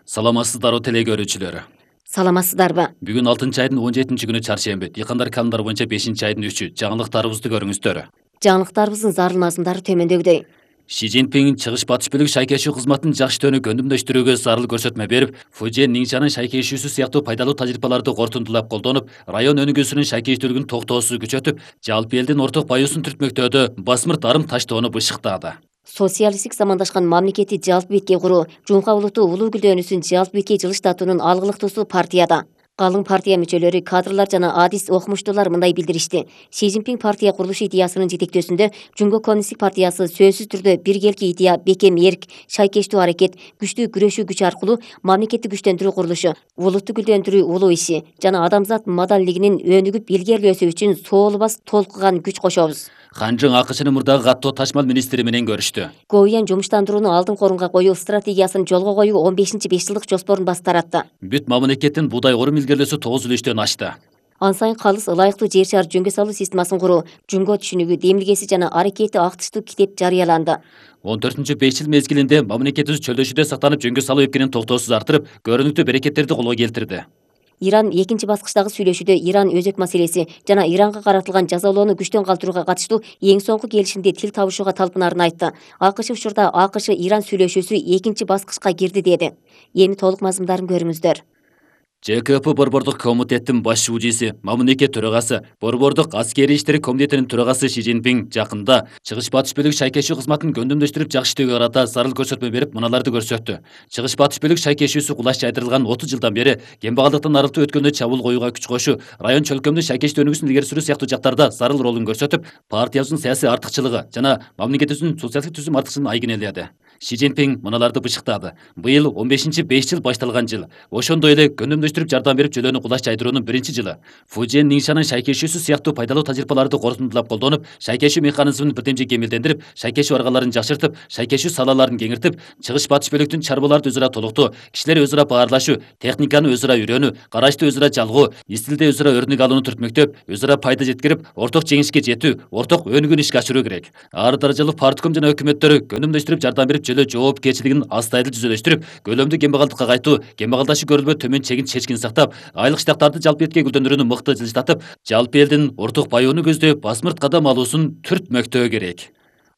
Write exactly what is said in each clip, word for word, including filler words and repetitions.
Саламатсыздарбы теле көрүүчүлөр. Саламатсыздарбы? Бүгүн алтынчы айдын он жетинчи күнү чаршемби. Дыйкандар календар боюнча бешинчи айдын үчү. Жаңылыктарыбызды көрүңүздөр. Жаңылыктарыбыздын зарылмасындары төмөндөгүдөй. Ши Цзиньпин чыгыш батыш бөлүк шайкешүү кызматын жакшы көндүмдөштүрүүгө зарыл көрсөтмө берип, Фужен Нingxanын шайкешүүсү сыяктуу пайдалуу тажрыйбаларды кортундулап колдонуп, район өнүгүүсүнүн шайкештүүлүгүн токтоосуз күчөтүп, жалпы элдин орток баюусун түртмөктөөдө басмырт арым таштоону бышыктады. Социалисттик замандашкан мамлекетти жалпы бетке куруу, Жумка улуттуу улуу күлдөөнүсүн жалпы бетке жылыштатуунун алгылыктуусу партияда. Калың партия мүчөлөрү, кадрлар жана адис окумуштуулар мындай билдиришти. Ши Цзиньпин партия курулуш идеясынын жетектөөсүндө Жумго коммунисттик партиясы сөзсүз түрдө биргелки идея, бекем эрк, шайкештүү аракет, күчтүү күрөшүү күч аркылуу мамлекетти күчтөндүрүү курулушу, улутту гүлдөөндүрүү улуу иши жана адамзат маданилигинин өнүгүп илгерилөөсү үчүн соолубас толкуган күч кошобуз. Ханжың АКШнын мурдагы каттоо ташмал министри менен көрүштү. Гоуян жумуштандырууну алдыңкы орунга коюу стратегиясын жолго коюу он бешинчи беш жылдык жоспорун баш таратты. Бүт мамлекеттин буудай орум илгерилөөсү тогуз үлүштөн ашты. Ан сайын калыс ылайыктуу жер шаар жөнгө салуу системасын куруу, Жумго түшүнүгү, демилгеси жана аракети актыштуу китеп жарыяланды. он төртүнчү беш жыл мезгилинде мамлекетибиз чөлдөшүүдө сактанып жөнгө салуу эпкенин токтоосуз артырып, көрүнүктүү берекеттерди колго келтирди. Иран экинчи баскычтагы сүйлөшүүдө Иран өзөк маселеси жана Иранга каратылган жазалоону күчтөн калтырууга катыштуу эң соңку келишимде тил табышууга талпынаарын айтты. АКШ учурда АКШ Иран сүйлөшүүсү экинчи баскычка кирди деди. Эми толук мазмундарын көрүңүздөр. ЖКП Борбордук комитеттин баш шуудиси, мамлекет төрагасы, Борбордук аскерий иштери комитетинин төрагасы Ши Цзиньпин жакында чыгыш батыш бөлүк шайкешүү кызматын көндүмдөштүрүп жакшы иштөөгө карата зарыл көрсөтмө берип, мыналарды көрсөттү. Чыгыш батыш бөлүк шайкешүүсү кулаш жайдырылган отуз жылдан бери кембагалдыктан арылтуу өткөндө чабуул коюуга күч кошуу, район чөлкөмдүн шайкештүү өнүгүүсүн илгери сүрүү сыяктуу жактарда зарыл ролун көрсөтүп, партиябыздын саясий артыкчылыгы жана мамлекетибиздин социалдык түзүм артыкчылыгын айгинеледи. Ши Цзиньпин мыналарды бышыктады. Быйыл он бешинчи беш жыл башталган жыл. Ошондой эле көндүмдөштүрүп жардам берип жөлөөнү кулаш жайдыруунун биринчи жылы. Фужен Нingxanын шайкешүүсү сыяктуу пайдалуу тажрыйбаларды кортундулап колдонуп, шайкешүү механизмин бирдемже кемелдендирип, шайкешүү аргаларын жакшыртып, шайкешүү салаларын кеңиртип, чыгыш батыш бөлүктүн чарбаларды өзара толуктоо, кишилер өзара баарлашуу, техниканы өзара үйрөнүү, карашты өзара жалгоо, истилде өзара өрнүк алууну түртмөктөп, өзара пайда жеткирип, орток жеңишке жетүү, орток өнүгүүнү ишке ашыруу керек. Ар даражалуу партком жана өкмөттөрү көндүмдөштүрүп жардам берип жөлөө жоопкерчилигин астайыл түзөлөштүрүп, көлөмдүү кембагалдыкка кайтуу, кембагалдашуу көрүлбөө төмөн чегин чечкин сактап, айлык штаттарды жалпы бетке гүлдөндүрүүнү мыкты жылыштатып, жалпы элдин орток баюуну көздөй басмырт кадам алуусун түртмөктөө керек.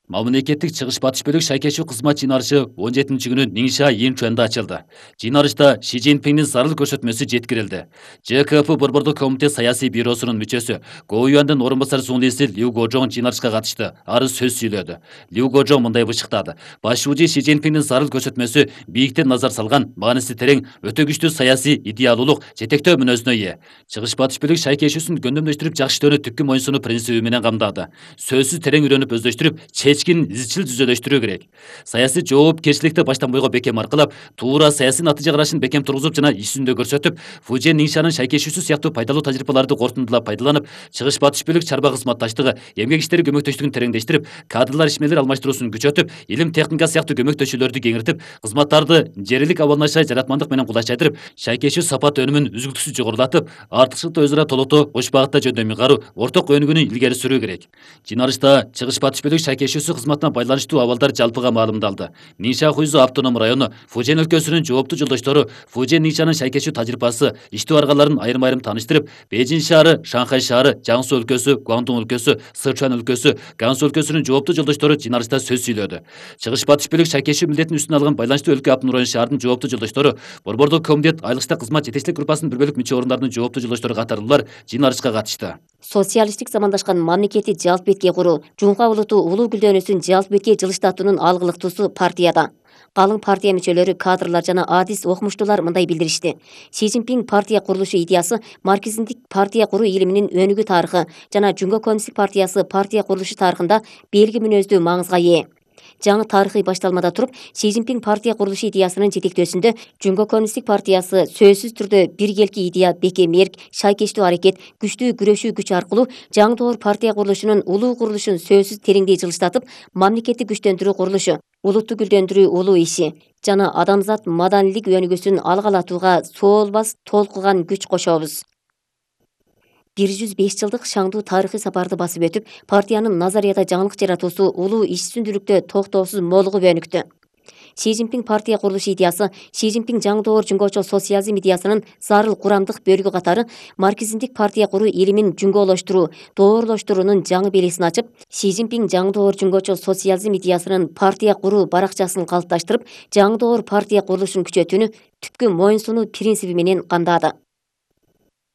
Мамлекеттик чыгыш батыш бөлүк шайкешүү кызмат жыйнарышы он жетинчи күнү Нingxia Yinchuanda ачылды. Жыйнарышта Ши Цзиньпиндин зарыл көрсөтмөсү жеткирилди. ЖКП Борбордук комитет саясий бюросунун мүчөсү, Гоуяндын орун басар сунуиси Liu Guozhong жыйнарышка катышты. Ары сөз сүйлөдү. Liu Guozhong мындай бышыктады. Баш шууди Ши Цзиньпиндин зарыл көрсөтмөсү бийиктен назар салган, мааниси терең, өтө күчтүү саясий идеалуулук, жетектөө мүнөзүнө ээ. Чыгыш батыш бөлүк шайкешүүсүн көндүмдөштүрүп жакшы иштөөнү түпкү моюнсунуу принциби менен камдады. Сөзсүз терең үйрөнүп өздөштүрүп, чечкин изчил түзөлөштүрүү керек. Саясий жоопкерчиликти баштан бойго бекем аркылап, туура саясий натыйжа карашын бекем тургузуп жана иш жүзүндө көрсөтүп, Фужен Нingxанын шайкешүүсү сыяктуу пайдалуу тажрыйбаларды кортундулап пайдаланып, чыгыш батыш бөлүк чарба кызматташтыгы, эмгек иштери көмөктөштүгүн тереңдештирип, кадрлар ишмерлер алмаштыруусун күчөтүп, илим техника сыяктуу көмөктөшүүлөрдү кеңиртип, кызматтарды жерилик абалнашай жаратмандык менен кулаш жайдырып, шайкешүү сапат өнүмүн үзгүлтүксүз жогорулатып, артыкчылыкты өзара толуктоо, кош багытта жөндөмү кароо, орток өнүгүүнү илгери сүрүү керек. Жыйнарышта чыгыш батыш бөлүк шайкешүүсү кызматына байланыштуу абалдар жалпыга маалымдалды. Нingxia Хуйзу автоном району, Фужен өлкөсүнүн жооптуу жолдоштору Фужен Ningxanын шайкешүү тажрыйбасы, иштөө аргаларын айрым-айрым тааныштырып, Бейжин шаары, Шанхай шаары, Жаңсу өлкөсү, Гуандун өлкөсү, Сычуан өлкөсү, Гансу өлкөсүнүн жооптуу жолдоштору жыйнарышта сөз сүйлөдү. Чыгыш батыш бөлүк шайкешүү милдетин үстүнө алган байланыштуу өлкө Автономдук район шаардын жооптуу жолдоштору, Борбордук комитет айылыкча кызмат жетекчилик группасынын бир бөлүк мүчө орундарынын жооптуу жолдоштору катарлуулар жыйнарышка катышты. Социалисттик замандашкан мамлекетти жалпы бетке куруу, Жумка улуттуу улуу күлдөөнүсүн жалпы бетке жылыштатуунун алгылыктуусу партияда. Калың партия мүчөлөрү, кадрлар жана адис окумуштуулар мындай билдиришти. Ши Цзиньпин партия курулушу идеясы марксизмдик партия куруу илиминин өнүгүү тарыхы жана Жумго коммунисттик партиясы партия курулушу тарыхында белги мүнөздүү маңызга ээ. Жаңы тарыхый башталмада туруп, Ши Цзиньпин партия курулушу идеясынын жетектөөсүндө Жумго коммунисттик партиясы сөзсүз түрдө биргелки идея, бекем эрк, шайкештүү аракет, күчтүү күрөшүү күч аркылуу жаңы доор партия курулушунун улуу курулушун сөзсүз тереңдей жылыштатып, мамлекетти күчтөндүрүү курулушу, улутту гүлдөөндүрүү улуу иши жана адамзат маданилик өнүгүүсүн алгалатууга соолбас толкуган күч кошобуз. бир жүз беш жылдык шаңдуу тарыхый сапарды басып өтүп, партиянын назарияда жаңылык жаратуусу улуу иш үстүндүүлүктө токтоосуз молугуп өнүктү. Си Цзиньпин партия курулуш идеясы Си Цзиньпин жаңдоор жүнгөчө социализм идеясынын зарыл курамдык бөлүгү катары марксизмдик партия куруу илимин жүнгөөлөштүрүү, доорлоштуруунун жаңы белесин ачып, Си Цзиньпин жаңдоор жүнгөчө социализм идеясынын партия куруу баракчасын калыпташтырып, жаңдоор партия курулушун күчөтүүнү түпкү моюнсунуу принциби менен камдады.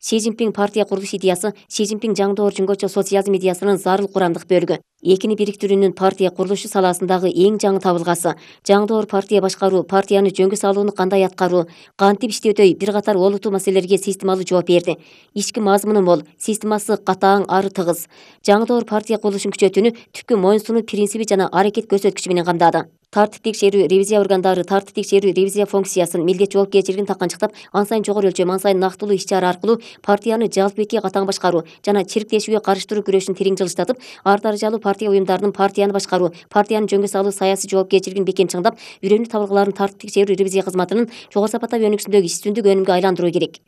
Си Цзиньпин партия курулуш идеясы Си Цзиньпин жаңдоор жүнгөчө социализм идеясынын зарыл курамдык бөлүгү. Экини бириктирүүнүн партия курулушу саласындагы эң жаңы табылгасы. Жаңдоор партия башкаруу, партияны жөнгө салууну кандай аткаруу, кантип иштөөдөй бир катар олуттуу маселелерге системалуу жооп берди. Ички мазмуну мол, системасы катаң, ары тыгыз. Жаңдоор партия курулушун күчөтүүнү түпкү моюнсунуу принциби жана аракет көрсөткүчү менен камдады. Тартип текшерүү ревизия органдары тартип текшерүү ревизия функциясын, милдет жоопкерчилигин таканчыктап, ан сайын жогору өлчөм, ан сайын нактылуу иш-чара аркылуу партияны жалпы бетке катаң башкаруу жана чирктешүүгө карыштыруу күрөшүн терең жылыштатып, ар даражалуу партия уюмдарынын партияны башкаруу, партияны жөнгө салуу саясий жоопкерчилигин бекем чыңдап, үйрөнүү табылгаларын тартип текшерүү ревизия кызматынын жогору сапаттагы өнүксүндөгү иштүндүк өнүмгө айландыруу керек.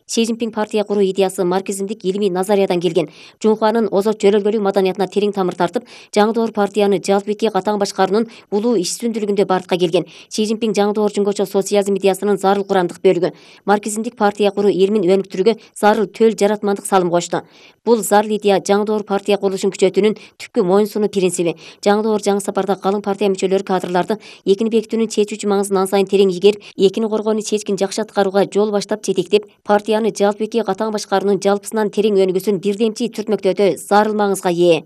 Си Цзиньпин партия куруу идеясы марксизмдик илимий назариядан келген. Жунханын озот жөрөлгөлүү маданиятына терең тамыр тартып, жаңдоор партияны жалпы бетке катаң башкаруунун улуу иштүндүүлүгүндө бартка келген. Си Цзиньпин жаңдоор жүнгөчө социализм идеясынын зарыл курамдык бөлүгү. Марксизмдик партия куруу илимин өнүктүрүүгө зарыл төл жаратмандык салым кошту. Бул зарыл идея жаңдоор партия курулушун күчөтүүнүн түпкү моюнсунуу принциби. Жаңдоор жаңы сапарда калың партия мүчөлөрү кадрларды экини бекитүүнүн чечүүчү маңызын ан сайын терең игерип, экини коргоону чечкин жакшы аткарууга жол баштап жетектеп, партия жалпы бетке катаң башкаруунун жалпысынан терең өнүгүүсүн бирдемчи түртмөктөөдө зарыл маңызга ээ.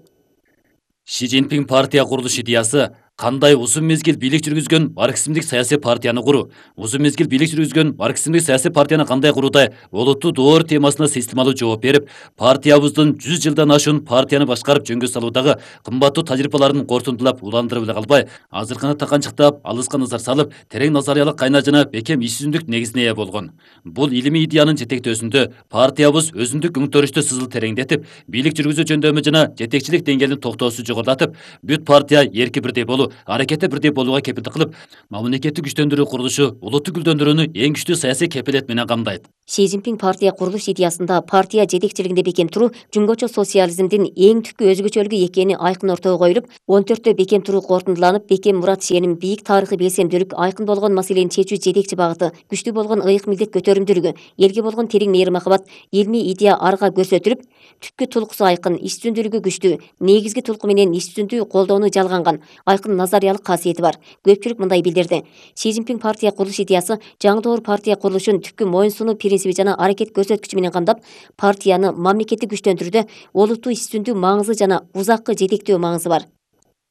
Си Цзиньпин партия курулуш идеясы кандай узун мезгил бийлик жүргүзгөн марксизмдик саясий партияны куруу, узун мезгил бийлик жүргүзгөн марксизмдик саясий партияны кандай куруудай олуттуу доор темасына системалуу жооп берип, партиябыздын жүз жылдан ашуун партияны башкарып жөнгө салуудагы кымбаттуу тажрыйбаларын кортунтулап уландырып эле калбай, азыркыны таканчыктап, алыска назар салып, терең назариялык кайнар жана бекем иш жүзүндүк негизине ээ болгон. Бул илимий идеянын жетектөөсүндө партиябыз өзүндүк өңтөрүштү сызыл тереңдетип, бийлик жүргүзүү жөндөмү жана жетекчилик деңгээлин токтоосу жогорулатып, бүт партия эрки бирдей болуу, аракети бирдей болууга кепилдик кылып, мамлекетти күчтөндүрүү курулушу улутту гүлдөндүрүүнү эң күчтүү саясий кепилет менен камдайт. Си Цзиньпин партия курулуш идеясында партия жетекчилигинде бекем туруу жүнгөчө социализмдин эң түпкү өзгөчөлүгү экени айкын ортого коюлуп, он төрттө бекем туруу кортундуланып, бекем мурат ишеним, бийик тарыхый белсемдүүлүк, айкын болгон маселени чечүү жетекчи багыты, күчтүү болгон ыйык милдет көтөрүмдүүлүгү, элге болгон терең мейрим махабат, илмий идея арга көрсөтүлүп, түпкү тулкусу айкын, иштүндүүлүгү күчтүү, негизги тулку менен иштүндүү колдоону жалганган, айкын назариялык касиети бар. Көпчүлүк мындай билдирди. Си Цзиньпин партия курулуш идеясы жаңдоор партия курулушун түпкү моюнсунуу принциби жана аракет көрсөткүчү менен камдап, партияны мамлекетти күчтөндүрүүдө олуттуу иштүндүү маңызы жана узаккы жетектөө маңызы бар.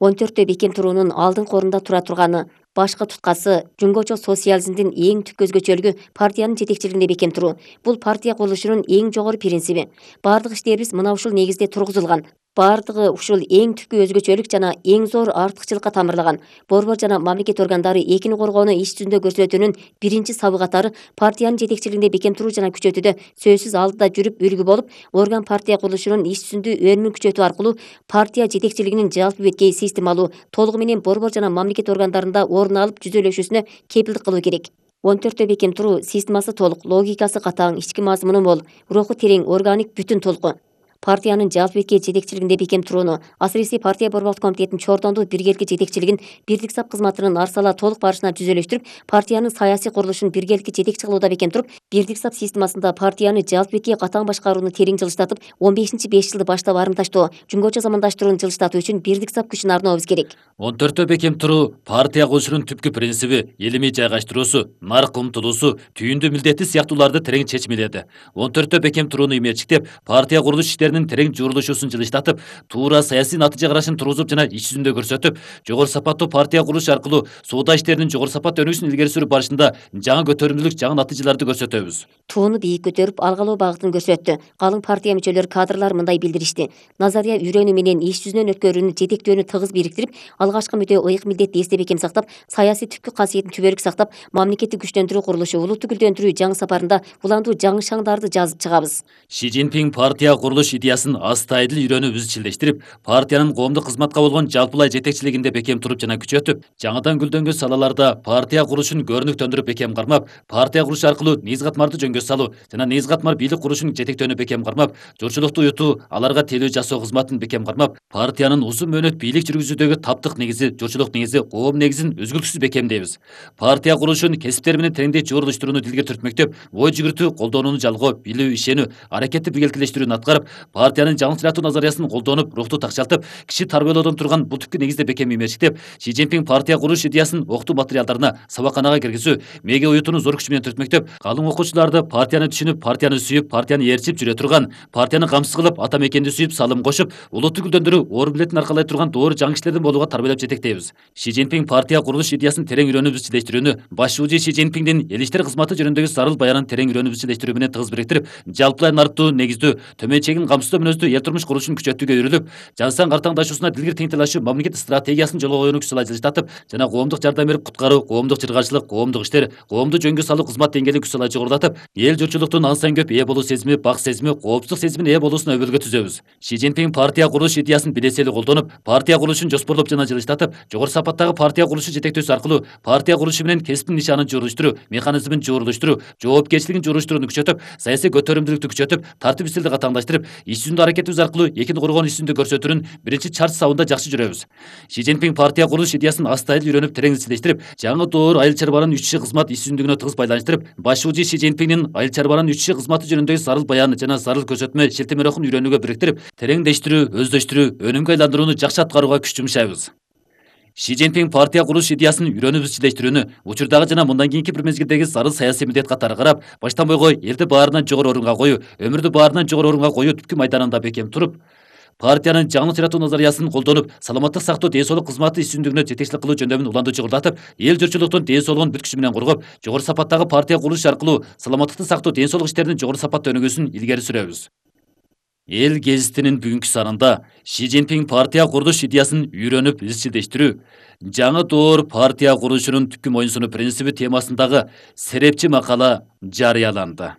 он төрттө бекем туруунун алдыңкы орунда тура турганы, башкы туткасы жүнгөчө социализмдин эң түпкү өзгөчөлүгү партиянын жетекчилигинде бекем туруу. Бул партия курулушунун эң жогору принциби. Бардык иштерибиз мына ушул негизде тургузулган. Бардыгы ушул эң түпкү өзгөчөлүк жана эң зор артыкчылыкка тамырлаган. Борбор жана мамлекет органдары экини коргоону иш жүзүндө көрсөтүүнүн биринчи сабы катары партиянын жетекчилигинде бекем туруу жана күчөтүүдө сөзсүз алдыда жүрүп үлгү болуп, орган партия курулушунун иш жүзүндө өнүмүн күчөтүү аркылуу партия жетекчилигинин жалпы беткей системалуу, толугу менен борбор жана мамлекет органдарында орун алып жүзөлөшүүсүнө кепилдик кылуу керек. он төрттө бекем туруу системасы толук, логикасы катаң, ички мазмуну мол, руху терең, органик бүтүн толку. Партиянын жалпы бетке жетекчилигинде бекем турууну, асыресе партия борбордук комитетинин чордондуу биргеликке жетекчилигин бирдик сап кызматынын арсала толук барышына жүзөлөштүрүп, партиянын саясий курулушун биргеликке жетекчи кылууда бекем туруп, бирдик сап системасында партияны жалпы бетке катаң башкарууну терең жылыштатып, он бешинчи беш жылды баштап арымташтоо, жүнгөчө замандаштырууну жылыштатуу үчүн бирдик сап күчүн арнообуз керек. он төрттө бекем туруу партия курулушунун түпкү принциби, илимий жайгаштыруусу, нарк умтулуусу, түйүндүү милдети сыяктууларды терең чечмеледи. он төрттө бекем турууну имечиктеп, партия курулуш иштеринин терең журулушуусун жылыштатып, туура саясий натыйжа карашын тургузуп жана иш жүзүндө көрсөтүп, жогору сапаттуу партия курулуш аркылуу соода иштеринин жогору сапат өнүгүшүн илгери сүрүп барышында жаңы көтөрүмдүүлүк, жаңы натыйжаларды көрсөтөбүз. Тууну бийик көтөрүп, алгалоо багытын көрсөттү. Калың партия мүчөлөрү, кадрлар мындай билдиришти. Назария үйрөнүү менен иш жүзүнөн өткөрүүнү, жетектөөнү тыгыз бириктирип, алгачкы мүдө ыйык милдетти эсте бекем сактап, саясий түпкү касиетин түбөлүк сактап, мамлекетти күчтөндүрүү курулушу, улутту гүлдөндүрүү жаңы сапарында уландуу жаңы шаңдарды жазып чыгабыз. Си Цзиньпин партия курулуш идеясын астайдыл үйрөнүп изчилдештирип, партиянын коомдук кызматка болгон жалпылай жетекчилигинде бекем туруп жана күчөтүп, жаңыдан гүлдөнгөн салаларда партия курулушун көрүнүктөндүрүп бекем кармап, партия куруш аркылуу негиз катмарды жөнгө салуу жана негиз катмар бийлик курушун жетектөөнү бекем кармап, журтчулукту уютуу, аларга тейлөө жасоо кызматын бекем кармап, партиянын узун мөөнөт бийлик жүргүзүүдөгү таптык негизи, журтчулук негизи, коом негизин үзгүлтүксүз бекемдейбиз. Партия курулушун кесиптер менен тереңдей жуурулуштурууну дилге түртмөктөп, ой жүгүртүү колдонууну жалгоо, билүү, ишенүү, аракетти биргеликелештирүүнү аткарып, партиянын жаңылтыратуу назариясын колдонуп, рухту такшалтып, киши тарбиялоодон турган бул түпкү негизде бекем имештиктеп, Си Цзиньпин партия курулуш идеясын окутуу материалдарына, сабакканага киргизүү, мега уютууну зор күч менен түртмөктөп, калың окуучуларды партияны түшүнүп, партияны сүйүп, партияны ээрчип жүрө турган, партияны камсыз кылып, ата мекенди сүйүп, салым кошуп, улутту гүлдөндүрүү, оор билетин аркалай турган доор жаңы кишилердин болууга тарбиялап жетектейбиз. Си Цзиньпин партия курулуш идеясын терең үйрөнүп изчилдештирүүнү, баш шүүжү Си Цзиньпиндин эл иштер кызматы жөнүндөгү зарыл баянын терең үйрөнүп изчилдештирүү менен тыгыз бириктирип, жалпылай нарттуу, негиздүү, төмөн чегин камсыздоо мүнөздүү эл турмуш курулушун күчөтүүгө үйрүлүп, жан сан картаңдашуусуна дилгир тең талашуу мамлекет стратегиясын жолго коюуну күч сала жылжытатып жана коомдук жардам берип куткаруу, коомдук жыргaalчылык, коомдук иштер, коомду жөнгө салуу кызмат деңгээлин күч сала жогорулатып, эл журтчулуктун ан көп ээ болуу сезими, бак сезими, коопсуздук сезимине ээ болуусуна өбөлгө түзөбүз. Си Цзиньпин партия курулуш идеясын билесели колдонуп, партия курулушун жоспорлоп жана жылыштатып, жогору сапаттагы партия курулушу жетектөөсү аркылуу партия курулушу менен кесиптин нишанын жуурулуштуруу, механизмин жуурулуштуруу, жоопкерчилигин жуурулуштурууну күчөтүп, саясий көтөрүмдүүлүктү күчөтүп, тартип стилди катаңдаштырып, иш жүзүндө аракетибиз аркылуу экини коргоон иш жүзүндө көрсөтүүнүн биринчи чарт сабында жакшы жүрөбүз. Си Цзиньпин партия курулуш идеясын астайдыл үйрөнүп терең изчилдештирип, жаңы доор айыл чарбанын үч иши кызмат иш жүзүндүгүнө тыгыз байланыштырып, баш шүүжү Си Цзиньпиндин айыл чарбанын үч иши кызматы жөнүндөгү зарыл баян жана зарыл көрсөтмө шилтемелерин үйрөнүүгө бириктирип, тереңдештирүү, өздөштүрүү, өнүмгө айландырууну жакшы аткарууга күч жумшайбыз. Си Цзиньпин партия курулуш идеясын үйрөнүп изчилдештирүүнү учурдагы жана мындан кийинки бир мезгилдеги зарыл саясий милдет катары карап, баштан бойго элди баарынан жогору орунга коюу, өмүрдү баарынан жогору орунга коюу түпкү майданында бекем туруп, партиянын жаңылтыратуу назариясын колдонуп, саламаттык сактоо ден соолук кызматы иш жүзүндүгүнө жетекчилик кылуу жөндөмүн уланды чыгырдатып, эл журтчулуктун ден соолугун бүт күчү менен коргоп, жогору сапаттагы партия курулуш аркылуу саламаттыкты сактоо ден соолук иштеринин жогору сапатта өнүгүүсүн илгери сүрөбүз. Эл гезитинин бүгүнкү санында Си Цзиньпин партия курулуш идеясын үйрөнүп изчилдештирүү, жаңы доор партия курулушунун түпкү моюнсунуу принциби темасындагы серепчи макала жарыяланды.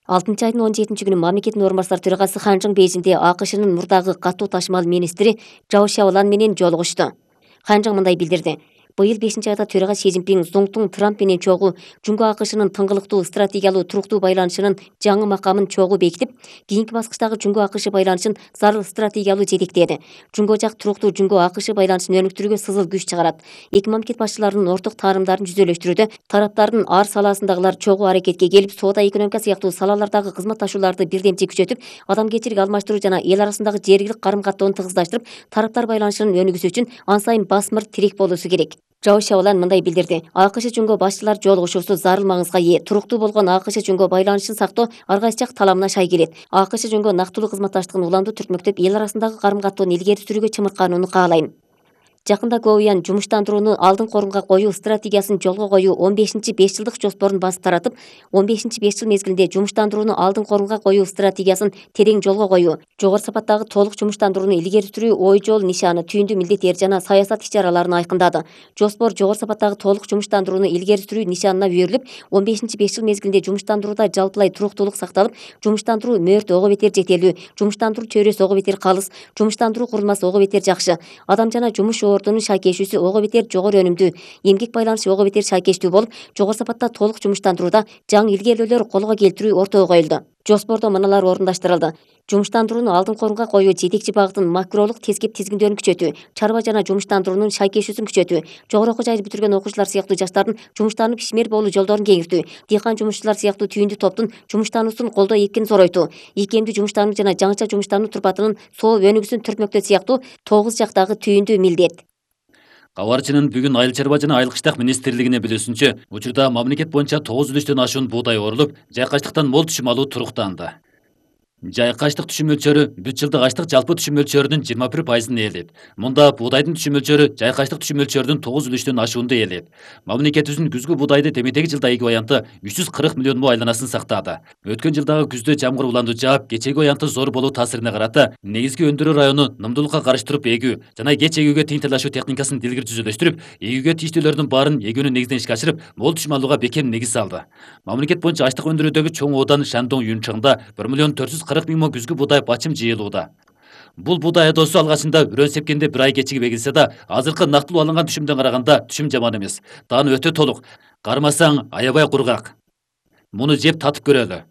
алтынчы айдын он жетинчи күнү мамлекеттин орун басары төрагасы Хан Чжың Бейжиңде АКШнын мурдагы катуу ташымал министри Чжао Шяолан менен жолугушту. Хан Чжың мындай билдирди: Быйыл бешинчи айда төрага Си Цзиньпин Зоңтун Трамп менен чогуу Жунго АКШнын тыңгылыктуу стратегиялуу туруктуу байланышынын жаңы макамын чогуу бекитип, кийинки баскычтагы Жунго АКШ байланышын зарыл стратегиялуу жетектеди. Жунго жак туруктуу Жунго АКШ байланышын өнүктүрүүгө сызыл күч чыгарат. Эки мамлекет башчыларынын орток таарымдарын жүзөлөштүрүүдө тараптардын ар саласындагылар чогуу аракетке келип, соода, экономика сыяктуу салалардагы кызматташууларды бирдемчи күчөтүп, адамгерчилик алмаштыруу жана эл арасындагы жергилик карым-каттоону тыгыздаштырып, тараптар байланышынын өнүгүүсү үчүн ан сайын басмыр тирек болуусу керек. Чжао Шяолан мындай билдирди: АКШ Жунго башчылар жолугушуусу зарыл маңызга ээ. Туруктуу болгон АКШ Жунго байланышын сактоо ар кайсы жак таламына шай келет. АКШ Жунго нактылуу кызматташтыгын уламдуу түртмөктөп, эл арасындагы карым-каттоону илгери сүрүүгө чымырканууну каалайм. Жакында Гоуян жумуштандырууну алдыңкы орунга коюу стратегиясын жолго коюу он бешинчи беш жылдык жоспорун басып таратып, он бешинчи беш жыл мезгилинде жумуштандырууну алдыңкы орунга коюу стратегиясын терең жолго коюу, жогору сапаттагы толук жумуштандырууну илгери сүрүү ой жол нишаны, түйүндүү милдеттер жана саясат иш-чараларын айкындады. Жоспор жогору сапаттагы толук жумуштандырууну илгери сүрүү нишанына үйрүлүп, он бешинчи беш жыл мезгилинде жумуштандырууда жалпылай туруктуулук сакталып, жумуштандыруу мөөрт ого бетер жетерлүү, жумуштандыруу чөйрөсү ого бетер калыс, жумуштандыруу курулмасы ого бетер жакшы, адам жана жумуш ордунун шайкешүүсү ого бетер жогору өнүмдүү, эмгек байланышы ого бетер шайкештүү болуп, жогору сапатта толук жумуштандырууда жаңы илгерилөөлөр колго келтирүү ортого коюлду. Жоспордо мыналар орундаштырылды: жумуштандырууну алдыңкы орунга коюу жетекчи багытын макролук тескеп тизгиндөөнү күчөтүү, чарба жана жумуштандыруунун шайкешүүсүн күчөтүү, жогору окуу жайды бүтүргөн окуучулар сыяктуу жаштардын жумуштанып ишмер болуу жолдорун кеңиртүү, дыйкан жумушчулар сыяктуу түйүндүү топтун жумуштануусун колдоо экенин зоройтуу, ийкемдүү жумуштануу жана жаңыча жумуштануу турпатынын соо өнүгүүсүн түртмөктөө сыяктуу тогуз жактагы түйүндүү милдет. Кабарчынын бүгүн айыл чарба жана айыл кыштак министрлигине билүүсүнчө, учурда мамлекет боюнча тогуз үлүштөн ашуун буудай орулуп, жайкачтыктан мол түшүм алуу туруктанды. Жайкачтык түшүм мөлчөрү бүт жылдык ачлык жалпы түшүм мөлчөрүнүн жыйырма бир пайызын ээлейт. Мында буудайдын түшүм мөлчөрү жайкачтык түшүм мөлчөрүнүн тогуз үлүштөн ашуунду ээлейт. Мамлекетибиздин күзгү буудайды демедеги жылда эки аянты үч жүз кырк миллион му айланасын сактады. Өткөн жылдагы күздө жамгыр уланду жаап, кечеги аянты зор болуу таасирине карата негизги өндүрүү району нымдуулукка карыштырып эгүү жана кеч эгүүгө тең талашуу техникасын дилгир түзүлөштүрүп, эгүүгө тийиштүүлөрдүн баарын эгүүнү негизден ишке ашырып, мол түшүм алууга бекем негиз салды. Мамлекет боюнча ачлык өндүрүүдөгү чоң оодан Шандong Юнчаңда бир миллион төрт жүз кырк миң күзгү буудай бачым жыйылууда. Бул буудай айдоосу алгачында үрөн сепкенде бир ай кечигип эгилсе да, азыркы нактылуу алынган түшүмдөн караганда түшүм жаман эмес. Дааны өтө толук. Кармасаң аябай кургак. Муну жеп татып көрөлү.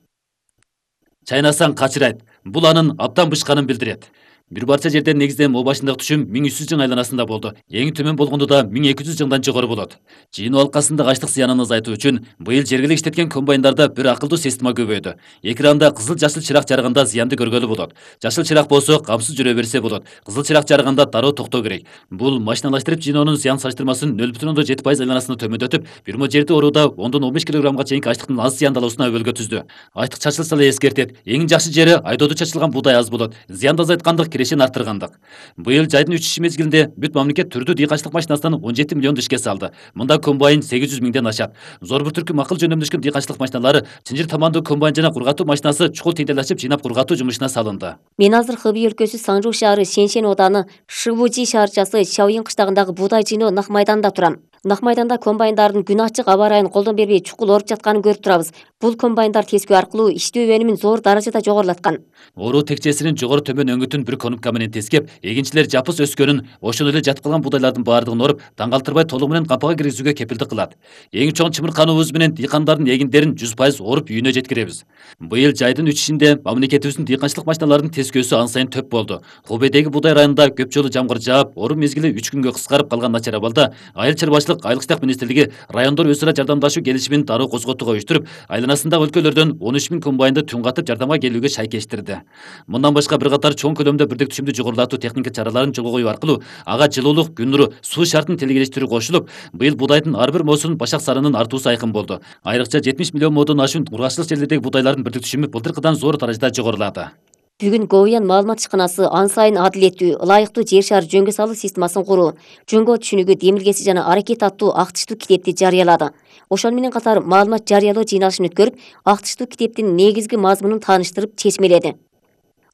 Чайнасаң качырайт. Бул анын абдан бышканын билдирет. Бир барча жерден негизинен могу башындагы түшүм миң үч жүз жың айланасында болду. Эң төмөн болгондо да миң эки жүз жыңдан жогору болот. Жыйынуу алкасында ачлык зыянын азайтуу үчүн быйыл жергиликтүү иштеткен комбайндарда бир акылдуу система көбөйдү. Экранда кызыл жашыл чырак жарыганда зыянды көргөлү болот. Жашыл чырак болсо камсыз жүрө берсе болот. Кызыл чырак жарыганда дароо токтоо керек. Бул машиналаштырып жыйноонун зыян салыштырмасын нөл бүтүн ондон жети пайыз айланасына төмөндөтүп, бир мо жерди орууда ондон он беш килограммга чейинки ачлыктын аз зыяндалуусуна өбөлгө түздү. Ачтык чачылса эле эскертет. Эң жакшы жери айдоодо чачылган буудай аз болот. Зыянды азайткандык, кирешени арттыргандык. Быйыл жайдын үч мезгилинде бүт мамлекет түрдүү дыйканчылык машинасынан он жети миллион ишке салды. Мында комбайн сегиз жүз миңден ашат. Зор бир түркүм акыл жөнөмдөшкөн дыйканчылык машиналары, чынжыр тамандуу комбайн жана кургатуу машинасы чукул теңдел ачып жыйнап кургатуу жумушуна салынды. Мен азыр Хэби өлкөсү Саңжу шаары Шеншен ооданы Шивужи шаарчасы Шаоин кыштагындагы буудай жыйноо нак майданында турам. Нак майданда комбайндардын күн ачык аба ырайын колдон бербей чукул оруп жатканын көрүп турабыз. Бул комбайндар тескөө аркылуу иштөө өнүмүн зор даражада жогорулаткан. Оруу текчесинин жогору төмөн өңүтүн бир конупка менен тескеп, эгинчилер жапыс өскөнүн, ошондой эле жатып калган буудайлардын баардыгын оруп, таңгалтырбай толугу менен кампага киргизүүгө кепилдик кылат. Эң чоң чымыркануубуз менен дыйкандардын эгиндерин жүз пайыз оруп үйүнө жеткиребиз. Быйыл жайдын үчүшүндө мамлекетибиздин дыйканчылык машиналарынын тескөөсү ан сайын төп болду. Хубейдеги буудай районунда көп жолу жамгыр жаап, оруу мезгили үч күнгө кыскарып калган начар абалда Айыл чарбачылык Айыл ыштак министрлиги райондор өз ара жардамдашуу келишимин дароо козготууга уюштуруп, айланасындагы өлкөлөрдөн он үч миң комбайнды түн катып жардамга келүүгө шайкештирди. Мындан башка бир катар чоң көлөмдө бирдик түшүмдү жогорулатуу техника чараларын жолго коюу аркылуу ага жылуулук, күн нуру, суу шартын телгелештирүү кошулуп, быйыл буудайдын ар бир моосунун башак санынын артуусу айкын болду. Айрыкча жетимиш миллион моодон ашуун ургачылык жерлердеги буудайлардын бирдик түшүмү былтыркыдан зор даражада жогорулады. Бүгүн Говиян маалымат ишканасы ан сайын адилеттүү, ылайыктуу жер шаар жөнгө салуу системасын куруу, жөнгө түшүнүгү демилгеси жана аракет аттуу актыштуу китепти жарыялады. Ошону менен катар маалымат жарыялоо жыйналышын өткөрүп, актыштуу китептин негизги мазмунун тааныштырып чечмеледи.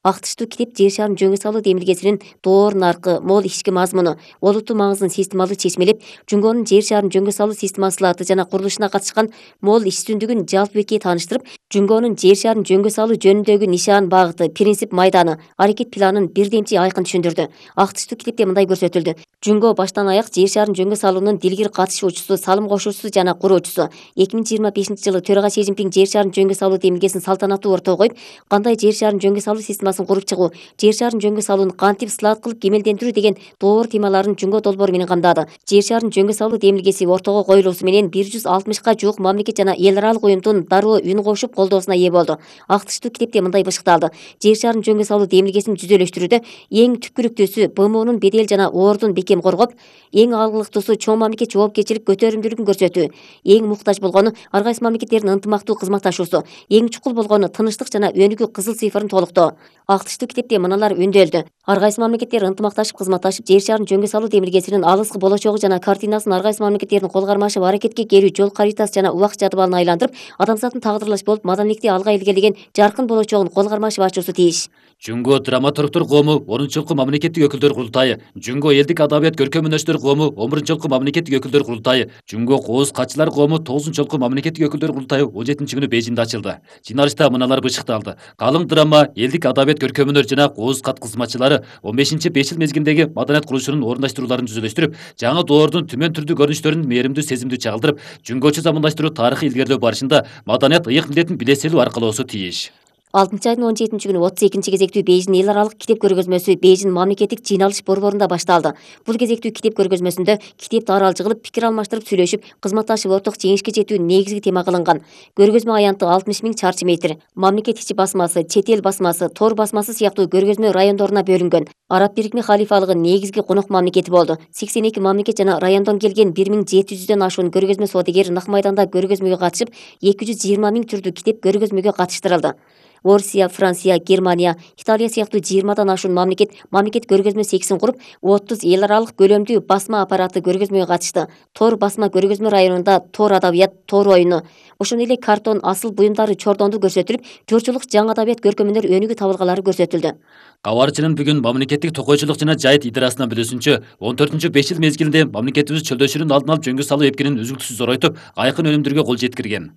Актыштуу китеп жер шаарын жөнгө салуу демилгесинин доор наркы, мол ички мазмуну, олуттуу маңызын системалуу чечмелеп, Жөнгөнүн жер шаарын жөнгө салуу системасы латы жана курулушуна катышкан мол иштүндүгүн жалпы бекке тааныштырып, Жөнгөнүн жер шаарын жөнгө салуу жөнүндөгү нишан, багыты, принцип майданы, аракет планын бирдемчи айкын түшүндүрдү. Актыштуу китепте мындай көрсөтүлдү. Жөнгө баштан аяк жер шаарын жөнгө салуунун дилгир катышуучусу, салым кошуучусу жана куруучусу. эки миң жыйырма бешинчи жылы төрага Си Цзиньпин жер шаарын жөнгө салуу демилгесин салтанаттуу ортого коюп, кандай жер шаарын жөнгө салуу системасын куруп чыгуу, жер шаарын жөнгө салууну кантип сылат кылып кемелдендирүү деген доор темаларын жөнгө долбоору менен камдады. Жер шаарын жөнгө салуу демилгеси ортого коюлуусу менен бир жүз алтымышка жуук мамлекет жана эл аралык уюмдун дароо үн кошуп колдоосуна ээ болду. Актыштуу китепте мындай бышыкталды. Жер шаарын жөнгө салуу демилгесин жүзөлөштүрүүдө эң түпкүрүктүүсү Б М Унун бедел жана ордун бекем коргоп, эң алгылыктуусу чоң мамлекет жоопкерчилик көтөрүмдүүлүгүн көрсөтүү, эң муктаж болгону ар кайсы мамлекеттердин ынтымактуу кызматташуусу, эң чукул болгону тынычтык жана өнүгүү кызыл цифрын толуктоо. Актыштуу китепте мыналар өндөлдү. Ар кайсы мамлекеттер ынтымакташып кызматташып, жер шаарын жөнгө салуу демилгесинин алыскы болочогу жана картинасын ар кайсы мамлекеттердин кол кармашып аракетке келүү жол каритасы жана убак жадыбалына айландырып, адамзаттын тагдырлаш болуп маданилекти алга илгерилеген жаркын болочогун кол кармашып ачуусу тийиш. Жөнгө драматургтор коому онунчу жолку мамлекеттик өкүлдөр курултайы, Жөнгө элдик адабият көркөмүндөштөр коому он биринчи жолку мамлекеттик өкүлдөр курултайы, Жөнгө кооз катчылар коому тогузунчу жолку мамлекеттик өкүлдөр курултайы он жетинчи күнү Бейжиңде ачылды. Жыйналышта мыналар бышыкталды. Калың драма, элдик адабият көркөмүнөр жана кооз кат кызматчылары он бешинчи беш жыл мезгилиндеги маданият курулушунун орундаштырууларын түзүлөштүрүп, жаңы доордун түмөн түрдүү көрүнүштөрүн мээримдүү сезимдүү чагылдырып, жөнгөчө замандаштыруу тарыхый илгерилөө барышында маданият ыйык милдетин биле селүү аркылоосу тийиш. алтынчы айдын он жетинчи күнү отуз экинчи кезектүү Бейжиң эл аралык китеп көргөзмөсү Бейжиң мамлекеттик жыйналыш борборунда башталды. Бул кезектүү китеп көргөзмөсүндө китеп таралчы кылып, пикир алмаштырып сүйлөшүп, кызматташып орток жеңишке жетүү негизги тема кылынган. Көргөзмө аянты алтымыш миң чарчы метр. Мамлекет ичи басмасы, чет эл басмасы, тор басмасы сыяктуу көргөзмө райондоруна бөлүнгөн. Араб Бирикме халифалыгынын негизги конок мамлекети болду. сексен эки мамлекет жана райондон келген бир миң жети жүздөн ашуун көргөзмө саудагер нак майданда көргөзмөгө катышып, эки жүз жыйырма миң түрдүү китеп көргөзмөгө катыштырылды. Орусия, Франция, Германия, Италия сыяктуу жыйырмадан ашуун мамлекет мамлекет көргөзмө сексин куруп, отуз эл аралык көлөмдүү басма аппараты көргөзмөгө катышты. Тор басма көргөзмө районунда тор адабият, тор оюну, ошондой эле картон асыл буюмдары чордонду көрсөтүлүп, журчулук жаңы адабият көркөмөнөр өнүгүү табылгалары көрсөтүлдү. Кабарчынын бүгүн мамлекеттик токойчулук жана жайыт идерасынан билүүсүнчө, он төртүнчү беш жыл мезгилинде мамлекетибиз чөлдөшүүнүн алдын алып жөнгө салуу эпкинин үзүлтүксүз зоройтуп, айкын өнүмдөргө кол жеткирген.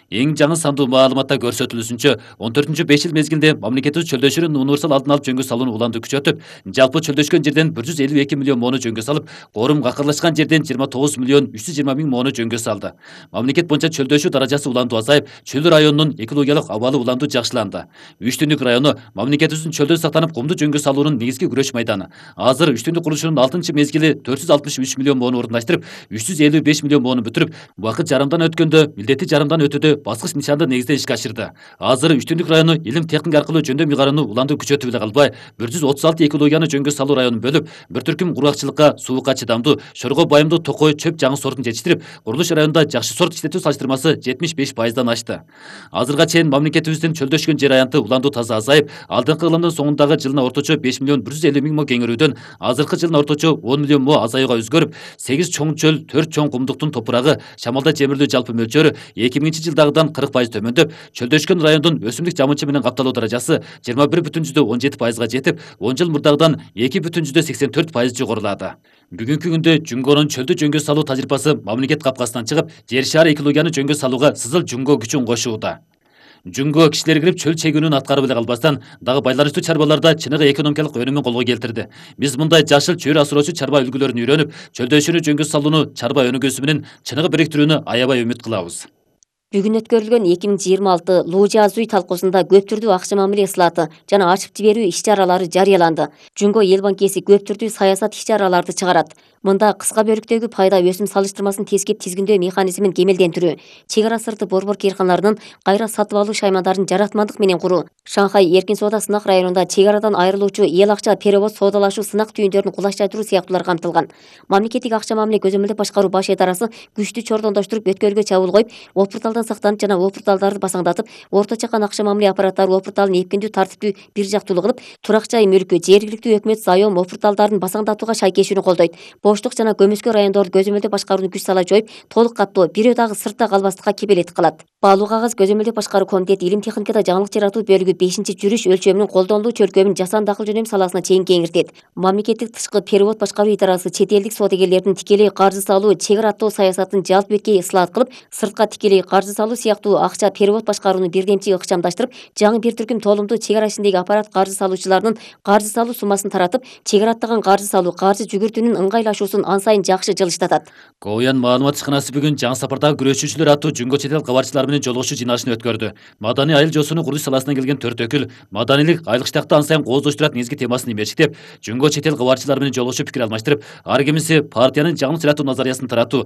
Эң жаңы сандуу маалыматта көрсөтүлүшүнчө он төртүнчү беш жыл мезгилинде мамлекетибиз чөлдөшүүнүн универсал алдын алып жөнгө салууну уланды күчөтүп, жалпы чөлдөшкөн жерден бир жүз элүү эки миллион моону жөнгө салып, корум какырлашкан жерден жыйырма тогуз миллион үч жүз жыйырма миң моону жөнгө салды. Мамлекет боюнча чөлдөшүү даражасы уландуу азайып, чөл районунун экологиялык абалы уландуу жакшыланды. Үч түндүк району мамлекетибиздин чөлдө сактанып кумду жөнгө салуунун негизги күрөш майданы. Азыр үч түндүк курулушунун алтынчы мезгили төрт жүз алтымыш үч миллион моону орундаштырып, үч жүз элүү беш миллион моону бүтүрүп, убакыт жарымдан өткөндө, милдети жарымдан өтүүдө баскыч нишанды негизде ишке ашырды. Азыр үч түндүк району илим техника аркылуу жөндөм ыйгарууну уландуу күчөтүп эле калбай, бир жүз отуз алты экологияны жөнгө салуу районун бөлүп, бир түркүм кургакчылыкка, суукка чыдамдуу, шорго байымдуу токой чөп жаңы сортун жетиштирип, курулуш районунда жакшы сорт иштетүү салыштырмасы жетимиш беш пайыздан ашты. Азырга чейин мамлекетибиздин чөлдөшкөн жер аянты уландуу таза азайып, алдыңкы ылымдын соңундагы жылына орточо беш миллион бир жүз элүү миң мо кеңейрүүдөн азыркы жылына орточо он миллион мо азаюуга өзгөрүп, сегиз чоң чөл, төрт чоң кумдуктун топурагы, шамалда жемирлүү жалпы мөлчөрү эки миңинчи жылдагыдан кырк пайыз төмөндөп, чөлдөшкөн райондун өсүмдүк жамынчы менен капталуу даражасы жыйырма бир бүтүн жүздө он жети пайызга жетип, он жыл мурдагыдан эки бүтүн жүздө сексен төрт пайыз жогорулады. Бүгүнкү күндө Жунгонун чөлдү жөнгө салуу тажрыйбасы мамлекет капкасынан чыгып, жер шаары экологияны жөнгө салууга сызыл Жунго күчүн кошууда. Жунго кишилер кирип чөл чегүүнүн аткарып эле калбастан, дагы байланыштуу чарбаларда чыныгы экономикалык өнүмүн колго келтирди. Биз мындай жашыл чөйрө асыроочу чарба үлгүлөрүн үйрөнүп, чөлдөшүүнү жөнгө салууну чарба өнүгүүсү менен чыныгы бириктирүүнү аябай үмүт кылабыз. Бүгүн өткөрүлгөн эки миң жыйырма алты Луу Жазуу талкуусунда көп түрдүү акча мамиле ысылаты жана ачып жиберүү иш-чаралары жарыяланды. Жунго эл банкеси көп түрдүү саясат иш-чараларды чыгарат. Мында кыска бөлүктөгү пайда өсүм салыштырмасын тескеп тизгиндөө механизмин кемелдендирүү, чек ара сырты борбор кыйрканаларынын кайра сатып алуу шаймандарын жаратмандык менен куруу, Шанхай эркин соода сынак районунда чек арадан айрылуучу эл акча перевод соодалашуу сынак түйүндөрүн кулачтандыруу сыяктуулар камтылган. Мамлекеттик акча мамиле көзөмөлдөп башкаруу баш идарасы күчтүү чордондоштуруп өткөлгө чабуул коюп, опурталдан сактанып жана опурталдарды басаңдатып, орто чакан акча мамиле аппараттары опурталын эпкиндүү тартиптүү бир жактуулуу кылып, турак жай мүлкү, жергиликтүү өкмөт заем опурталдарын басаңдатууга шайкешүүнү колдойт. Боштук жана көмөскө райондорду көзөмөлдөп башкарууну күч сала жоюп, толук каттоо, бирөө дагы сыртта калбастыкка кепелеттик кылат. Баалуу кагаз көзөмөлдөп башкаруу комитети илим техникада жаңылык жаратуу бөлүгү бешинчи жүрүш өлчөмүнүн колдонулуу чөлкөмүн жасанды дакыл жөнөм саласына чейин кеңиртет. Мамлекеттик тышкы перевод башкаруу идарасы чет элдик соодагерлердин тикелей каржы салуу, чек араттоо саясатын жалпы беткей ысылат кылып, сыртка тикелей каржы салуу сыяктуу акча перевод башкарууну бирдемчи ыкчамдаштырып, жаңы бир түркүм толумдуу чек ара ичиндеги аппарат каржы салуучуларынын каржы салуу суммасын таратып, чек араттаган каржы салуу, каржы жүгүртүүнүн ыңгайлашуусун ан сайын жакшы жылыштатат. Коян маалымат ишканасы бүгүн жаңы сапардагы күрөшүүчүлөр аттуу Жунго чет эл кабарчылары менен жолугушуу жыйналышын өткөрдү. Маданий айыл жоосуну курулуш саласынан келген төрт өкүл маданийлик айлык штакты ан сайын кооздоштурат негизги темасын имечиктеп, Жунго чет эл кабарчылары менен жолугушуп пикир алмаштырып, ар кимиси партиянын жаңылык жаратуу назариясын таратуу,